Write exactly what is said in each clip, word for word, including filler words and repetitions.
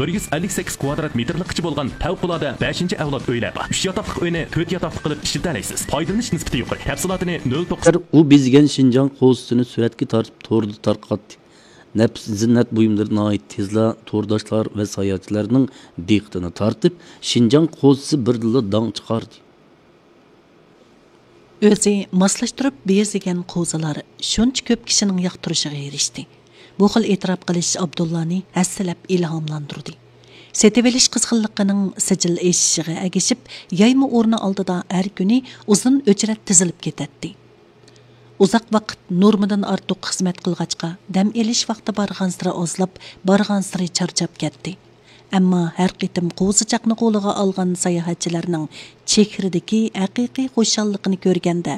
بىر يۈز ئەللىك سەككىز كۋادرات مېتىرلىققىچە بولغان پەۋقۇلئاددە بەشىنچى ئەۋلاد ئۆيلەر بار. ئۈچ ياتاقلىق ئۆينى تۆت ياتاقلىق قىلىپ ئىشلىتەلەيسىز. پايدىلىنىش نىسبىتى يۇقىرى. تەپسىلاتىنى نۆل توققۇز. ئۇ بېزىگەن شىنجاڭ قوزىسىنى سۈرەتكە تارتىپ، توردا تارقاتتى. نەپىس زىننەت بۇيۇملىرى ناھايىتى تېزلا تورداشلار ۋە ساياھەتچىلەرنىڭ دىققىتىنى تارتىپ، شىنجاڭ قوزىسى بىردىنلا داڭ چىقاردى. ئۆزى ماسلاشتۇرۇپ بېزىگەن قوزىلار شۇنچە كۆپ كىشىنىڭ ياقتۇرۇشىغا ئېرىشتى. بۇ خىل ئېتىراپ قىلىش ئابدۇللانى ھەسسىلەپ ئىلھاملاندۇردى. سېتىۋېلىش قىزغىنلىقىنىڭ سىجىل ئېشىشىغا ئەگىشىپ، يايما ئورنى ئالدىدا ھەر كۈنى ئۇزۇن ئۆچرەت تىزىلىپ كېتەتتى. ئۇزاق ۋاقىت نورمىدىن ئارتۇق خىزمەت قىلغاچقا، دەم ئېلىش ۋاقتى بارغانسېرى ئازلاپ، بارغانسېرى چارچاپ كەتتى. ئەمما ھەر قېتىم قوزىچاقنى قولىغا ئالغان ساياھەتچىلەرنىڭ چېھرىدىكى ھەقىقىي خۇشاللىقىنى كۆرگەندە،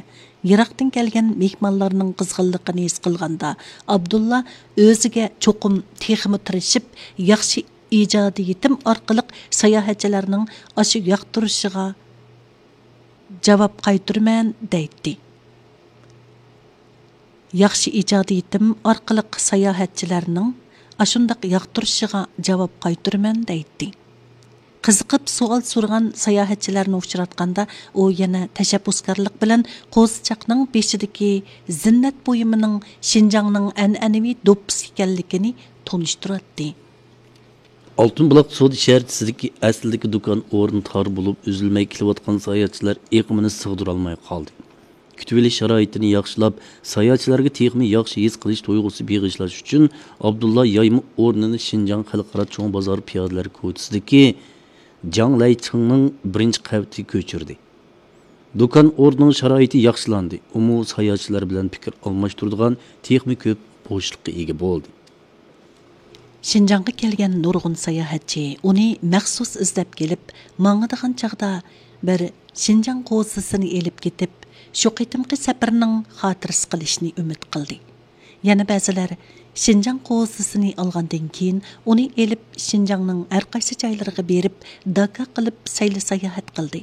يىراقتىن كەلگەن مېھمانلارنىڭ قىزغىنلىقىنى ھېس قىلغاندا، ئابدۇللا ئۆزىگە چوقۇم تېخىمۇ تىرىشىپ، ياخشى ئىجادىيىتىم ئارقىلىق ساياھەتچىلەرنىڭ ئاشۇ ياقتۇرۇشىغا جاۋاب قايتۇرىمەن دەيتتى. ياخشى ئىجادىيىتىم ئارقىلىق ساياھەتچىلەرنىڭ ئاشۇنداق ياقتۇرۇشىغا جاۋاب قايتۇرىمەن دەيتتى. قىزىقىپ سوئال سورىغان ساياھەتچىلەرنى ئۇچراتقاندا، ئۇ يەنە تەشەببۇسكارلىق بىلەن قوزىچاقنىڭ بېشىدىكى زىننەت بۇيۇمىنىڭ شىنجاڭنىڭ ئەنئەنىۋى دوپپىسى ئىكەنلىكىنى تونۇشتۇراتتى. ئالتۇن بۇلاق سودا شەھەرچىسىدىكى ئەسلىدىكى دۇكان ئورنى تار بولۇپ، ئۈزۈلمەي كېلىۋاتقان ساياھەتچىلەر ئېقىمىنى سىغدۇرالماي قالدى. كۈتۈۋېلىش شارائىتىنى ياخشىلاپ، ساياھەتچىلەرگە تېخىمۇ ياخشى ھېس قىلىش تۇيغۇسى بېغىشلاش ئۈچۈن، ئابدۇللا يايما ئورنىنى شىنجاڭ خەلقئارا چوڭ بازار پىيادىلەر كوچىسىدىكى جاڭ لەيچىڭنىڭ بىرىنچى قەۋىتىگە كۆچۈردى. دۇكان ئورنىنىڭ شارائىتى ياخشىلاندى، ئۇمۇ ساياھەتچىلەر بىلەن پىكىر ئالماشتۇرىدىغان تېخىمۇ كۆپ بوشلۇققا ئىگە بولدى. شىنجاڭغا كەلگەن نۇرغۇن ساياھەتچى ئۇنى مەخسۇس ئىزدەپ كېلىپ، ماڭىدىغان چاغدا بىر شىنجاڭ قوزىسىنى ئېلىپ كېتىپ، شۇ قېتىمقى سەپىرىنىڭ خاتىرىسى قىلىشنى ئۈمىد قىلدى. يەنە بەزىلەر شىنجاڭ قوزىسىنى ئالغاندىن كېيىن، ئۇنى ئېلىپ شىنجاڭنىڭ ھەر قايسى جايلىرىغا بېرىپ، داكا قىلىپ سەيلە ساياھەت قىلدى.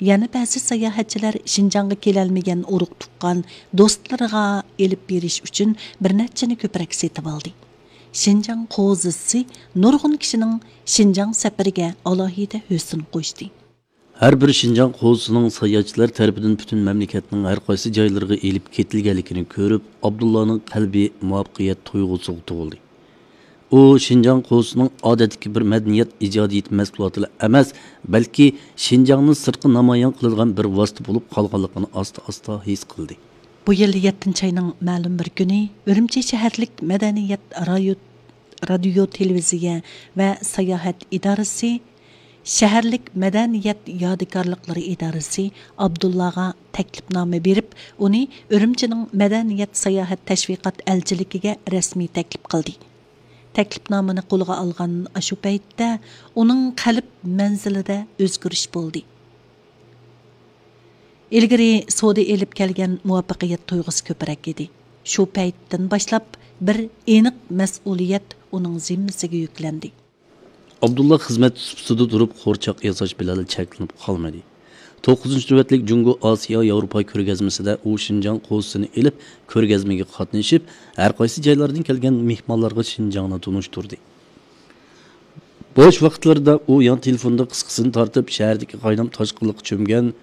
يەنە بەزى ساياھەتچىلەر شىنجاڭغا كېلەلمىگەن ئۇرۇق تۇغقان، دوستلىرىغا ئېلىپ بېرىش ئۈچۈن بىر نەچچىنى كۆپرەك سېتىۋالدى. شىنجاڭ قوزىسى نۇرغۇن كىشىنىڭ شىنجاڭ سەپىرىگە ئالاھىدە ھۆسن قوشتى. ھەر بىر شىنجاڭ قوزىسىنىڭ ساياھەتچىلەر تەرىپىدىن پۈتۈن مەملىكەتنىڭ ھەر قايسى جايلىرىغا ئېلىپ كېتىلگەنلىكىنى كۆرۈپ، ئابدۇللانىڭ قەلبى مۇۋەپپەقىيەت تۇيغۇسىغا تولدى. ئۇ شىنجاڭ قوزىسىنىڭ ئادەتتىكى بىر مەدەنىيەت ئىجادىيىتى مەھسۇلاتىلا ئەمەس، بەلكى شىنجاڭنى سىرتقا نامايان قىلىدىغان بىر ۋاسىتە بولۇپ قالغانلىقىنى ئاستا-ئاستا ھېس قىلدى. بۇ يىل يەتتىنچى ئاينىڭ مەلۇم بىر كۈنى ئۈرۈمچى شەھەرلىك مەدەنىيەت رايو-، رادىيو، تېلېۋىزىيە ۋە ساياھەت ئىدارىسى، شەھەرلىك مەدەنىيەت يادىكارلىقلىرى ئىدارىسى ئابدۇللاغا تەكلىپنامە بېرىپ، ئۇنى ئۈرۈمچىنىڭ مەدەنىيەت ساياھەت تەشۋىقات ئەلچىلىكىگە رەسمىي تەكلىپ قىلدى. تەكلىپنامىنى قولىغا ئالغان ئاشۇ پەيتتە ئۇنىڭ قەلب مەنزىلىدە ئۆزگىرىش بولدى. ئىلگىرى سودا ئېلىپ كەلگەن مۇۋەپپەقىيەت تۇيغۇسى كۆپرەك ئىدى. شۇ پەيتتىن باشلاپ بىر ئېنىق مەسئۇلىيەت ئۇنىڭ زىممىسىگە يۈكلەندى. ئابدۇللا خىزمەت سۇپىسىدا تۇرۇپ قورچاق ياساش بىلەنلا چەكلىنىپ قالمىدى. توققۇزىنچى نۆۋەتلىك جۇڭگو ئاسىيا ياۋروپا كۆرگەزمىسىدە ئۇ شىنجاڭ قوزىسىنى ئېلىپ، كۆرگەزمىگە قاتنىشىپ، ھەر قايسى جايلاردىن كەلگەن مېھمانلارغا شىنجاڭنى تونۇشتۇردى. بوش ۋاقىتلىرىدا ئۇ يان تېلېفوندا قىسقىسىنى تارتىپ، شەھەردىكى قاينام تاشقىنلىققا چۆمگەن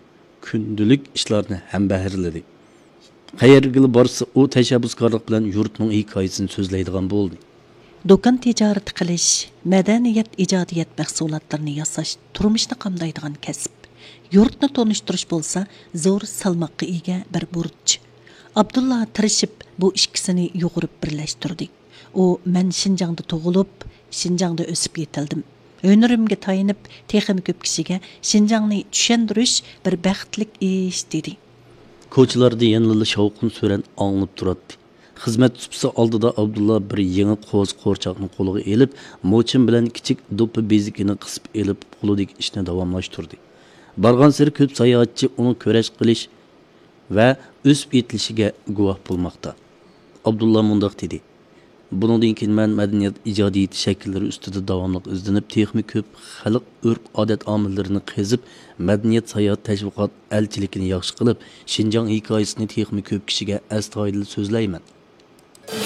كۈندىلىك ئىشلارنى ھەمبەھىرلىدى. قەيەرگىلا بارسا، ئۇ تەشەببۇسكارلىق بىلەن يۇرتنىڭ ھېكايىسىنى سۆزلەيدىغان بولدى. دۇكان تىجارىتى قىلىش، مەدەنىيەت، ئىجادىيەت مەھسۇلاتلىرىنى ياساش تۇرمۇشنى قامدايدىغان كەسىپ. يۇرتنى تونۇشتۇرۇش بولسا زور سالماققا ئىگە بىر بۇرچ. ئابدۇللا تىرىشىپ بۇ ئىككىسىنى يۇغۇرۇپ بىرلەشتۈردى. ئۇ، مەن شىنجاڭدا تۇغۇلۇپ، شىنجاڭدا ئۆسۈپ يېتىلدىم. ھۈنىرىمگە تايىنىپ، تېخىمۇ كۆپ كىشىگە شىنجاڭنى چۈشەندۈرۈش بىر بەختلىك ئىش، دېدى. كوچىلاردا يەنىلا شاۋقۇن سۈرەن ئاڭلىنىپ تۇراتتى. خىزمەت سۇپىسى ئالدىدا ئابدۇللا بىر يېڭى قوزا قورچاقنى قولىغا ئېلىپ، موچىن بىلەن كىچىك دوپپا بېزىكىنى قىسىپ ئېلىپ، قولىدىكى ئىشنى داۋاملاشتۇردى. بارغانسېرى كۆپ ساياھەتچى ئۇنىڭ كۈرەش قىلىش ۋە ئۆسۈپ يېتىلىشىگە گۇۋاھ بولماقتا. ئابدۇللا مۇنداق دېدى: بۇنىڭدىن كېيىن مەن مەدەنىيەت ئىجادىيىتى شەكىللىرى ئۈستىدە داۋاملىق ئىزدىنىپ، تېخىمۇ كۆپ خەلق ئۆرپ-ئادەت ئامىللىرىنى قېزىپ، مەدەنىيەت ساياھەت تەشۋىقات ئەلچىلىكىنى ياخشى قىلىپ، شىنجاڭ ھېكايىسىنى تېخىمۇ كۆپ كىشىگە ئەستايىدىل سۆزلەيمەن.